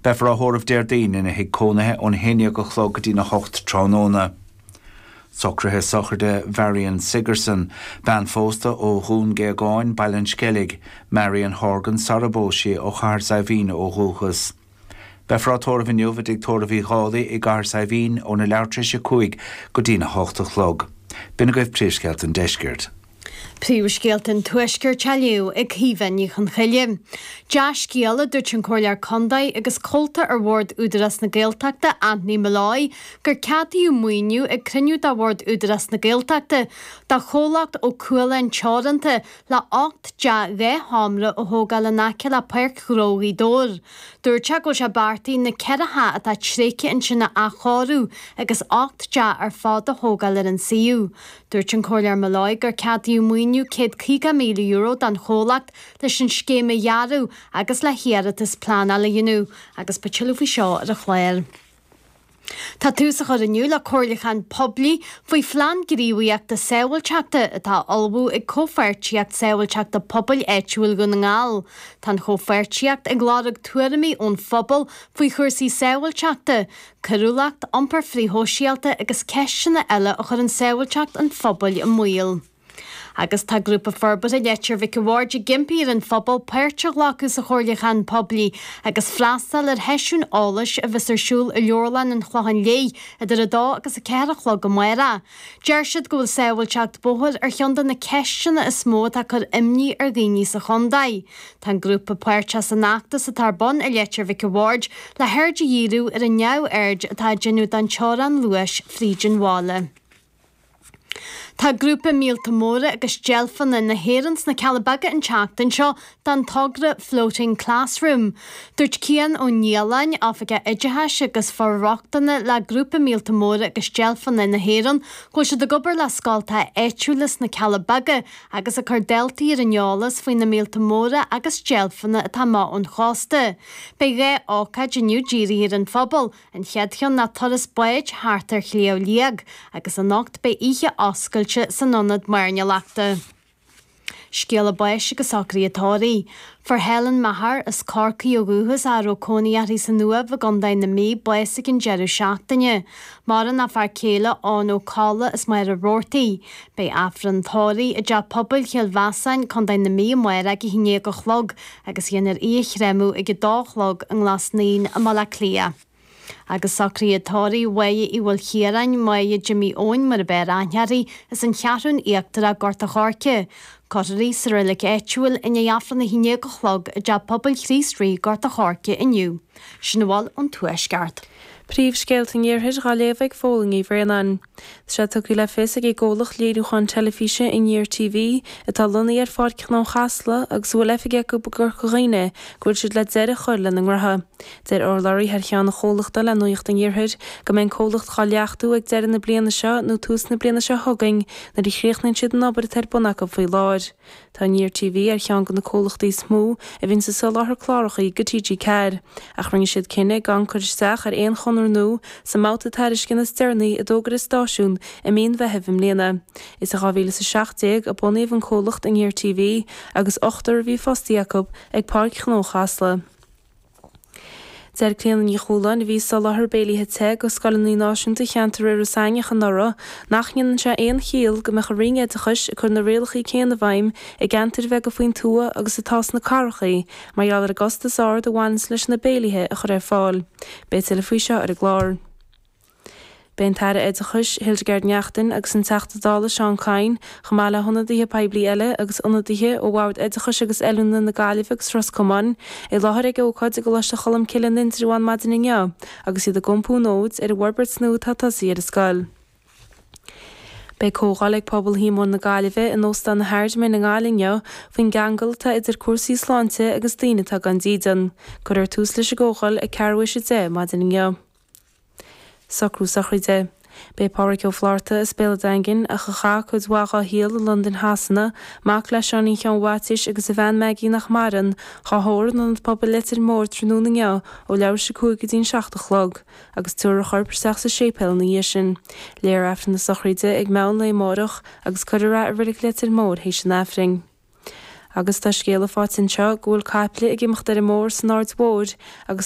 Beifear á thórramh Déardaoin ina thigh cónaithe ón 11 a chlog go dtí'n 8 tráthnóna. Socruithe sochraide Mharion Sigerson, bean phósta ó Dhún Géagáin, Baile an Sceilg, Marion Horgan sara bpós sí ó Chathair Saidhbhín ó dhúchas. Beifear á tórramh inniu i dTigh Tórraimh Uí Dhálaigh i gCathair Saidhbhín óna leathuair tar éis 5 go dtí'n 8 a chlog. B'in agaibh príomhscéalta an deiscirt. Príomhscéalta an Tuaiscirt á léamh ag Caoimhe Ní Chonchoille. Dea-scéal, a dúirt an Comhairleoir Contae agus Comhalta ar Bhord Údarás na Gaeltachta, Anthony Molloy, gur ceadaíodh maoiniú ag cruinniú de Bhord Údarás na Gaeltachta do chomhlacht Ó Cualáin Teoranta le 8 dteach 2 sheomra a thógáil in aice le Páirc Ghnó Ghaoth Dobhair. Dúirt sé go bhfuil sé beartaithe na 4 theach atá tréigthe ansin a athchóiriú agus 8 dteach ar fad a thógáil ar an suíomh. Dúirt an Comhairleoir Molloy gur ceadaíodh maoiniú €150,000 don chomhlacht leis an scéim a dhearadh agus le hiarratas pleanála a dhéanamh agus beidh tuilleadh faoi seo ar an chlár. Tá tús á chur inniu le comhairliúchán poiblí faoi phlean gníomhaíochta sábháilteachta atá á ullmhú ag Comhpháirtíocht Sábháilteachta Pobail Áitiúil Dhún na nGall. Tá an chomhpháirtíocht ag lorg tuairimí ón phobal faoi chúrsaí sábháilteachta, coiriúlacht, iompar frithshóisialta agus ceisteanna eile a chuireann sábháilteacht an phobail i mbaol. Agus tá Grúpa Forbartha Leitir Mhic a' Bhaird ag impí ar an phobal páirt a ghlacadh sa chomhairliúchán poiblí agus freastal ar sheisiún eolais a bheas ar siúl i Leabharlann an Chlocháin Léith idir 2 agus 4 a chlog amárach. Deir siad go bhfuil sábháilteacht bóthair ar cheann de na ceisteanna is mó atá ag cur imní ar dhaoine sa chontae. Tá an grúpa páirteach san fheachtas atá ar bun i Leitir Mhic a' Bhaird le haird a dhíriú ar an neamhaird atá á déanamh don teorainn luais fríd an bhaile. Tá grúpa Míolta Móra agus Deilfeanna na hÉireann sna Cealla Beaga an tseachtain seo don togra Floating Classroom. Dúirt Cian Ó Nialláin, Oifigeach Oideachais agus For-rochtana le Grúpa Míolta Móra agus Deilfeanna na hÉireann, go bhfuil siad ag obair le scoltacha áitiúla sna Cealla Beaga agus ag cur daltaí ar an eolas faoi na míolta móra agus deilfeanna atá amach ón chósta. Beidh 2 ócáid inniu dírithe ar an phobal, an chéad cheann ná turas báid thart ar Shliabh Liag, agus anocht beidh oíche oscailte san Ionad Mairnéalachta. Scéala báis agus socruithe tórraimh. Fuair Helen Maher, as Corcaigh ó dhúchas ach a raibh cónaí uirthi san Uaimh i gContae na Mí, bás ag an deireadh seachtaine. Maireann a fear céile Eoin Ó Colla as Machaire Rabhartaigh. Beidh Aifreann tórraimh i dTeach Pobail Chill Mheasáin, Contae na Mí amárach ag 11 a chlog agus dhéanfar í a chréamadh ag 2 a chlog i nGlas Naíon i mBaile Átha Cliath. Agus socruithe tórraimh Mháire Uí Mhaoilchiaráin, Máire Jimí Eoin mar ab fhearr aithne uirthi, as an Cheathrún Íochtarach, Gort a' Choirce. Cuirfear í sa reilig áitiúil i ndiaidh Aifreann a 11 a chlog i dTeach Pobail Chríost Rí, Gort a' Choirce inniu. Sin a bhfuil ón Tuaisceart. Príomhscéalta an Iarthair dhá léamh ag Fódhla Ní Bhraonáin. Tá sé tugtha le fios ag an gcomhlacht léiriúcháin teilifíse Aniar TV, atá lonnaithe ar Pháirc Ghnó Chasla agus a bhfuil oifig acu i gCorca Dhuibhne, go bhfuil siad le deireadh a chur lena ngnótha. Deir urlabhraí thar cheann an chomhlachta le Nuacht an Iarthair go mbeidh an comhlacht dhá leachtú ag deireadh na bliana seo nó tús na bliana seo chugainn nuair a chríochnaíonn siad an obair atá ar bun acu faoi láthair. Tá Aniar TV ar cheann de na comhlachtaí is mó a bhíonns ag soláthar cláracha go TG4 ach rinne siad cinneadh gan cur isteach ar aon chonradh nua sa mbabhta tairisceana is deireanaí a d'fhógair an stáisiún i mí an Mheithimh i mbliana. Is i 2017 a bunaíodh an comhlacht Aniar TV agus ochtar a bhí fostaithe acu ag Páirc Ghnó Chasla. Deir Clíona Ní Chualáin, a bhí ag soláthar béilithe te go scoileanna náisiúnta cheantar Iorras Aithneach anuraidh, nach ndéanann sé aon chiall go mbeadh an Roinn Oideachais ag cur na rialacha céanna i bhfeidhm i gceantair bheaga faoin tuath agus atá sna cathracha mar gheall ar an gcostas ard a bhaineanns leis na béilithe a chur ar fáil. Beidh tuilleadh faoi seo ar an gclár. Beidh an tAire Oideachais, Hildegarde Naughton agus an Teachta Dála Seán Kyne, chomh maith le hionadaithe poiblí eile agus ionadaithe ó Bhord Oideachais agus Oiliúna na Gaillimhe agus Ros Comáin, i láthair ag ócáid i gColáiste Cholmcille in Indreabhán maidin inniu agus iad ag iompú an fhóid ar an bhforbairt nua atá tosaithe ar an scoil. Beidh comhdháil ag Pobal Shíomóin na Gaillimhe in Óstán na hAird-Mine i nGaillimh inniu faoin gceangal atá idir cúrsaí sláinte agus daoine atá gan dídean. Cuirfear tús leis an gcomhdháil ag ceathrú théis a 10 maidin inniu. Socrú sochraide. Beidh Pádhraic Ó Flátharta as Béal an Daingin, ach a chaith cuid mhaith dhá shaol i Londain Shasana, mac le Seáinín Sheáin Mhaitiais agus a bhean Maggie nach maireann, dhá thórramh in Ionad Pobail Leitir Móir tráthnóna inniu ó leathuair théis 5 go dtí'n 7 a chlog, agus tabharfar a chorp isteach sa séipéal ina dhiaidh sin. Léifear Aifreann na sochraide ag meán lae amárach agus cuirfear é i Reilig Leitir Móir théis an Aifrinn. Agus tá scéala faighte anseo go bhfuil caiple ag imeacht ar an mbóthar san Aird Mhóir agus.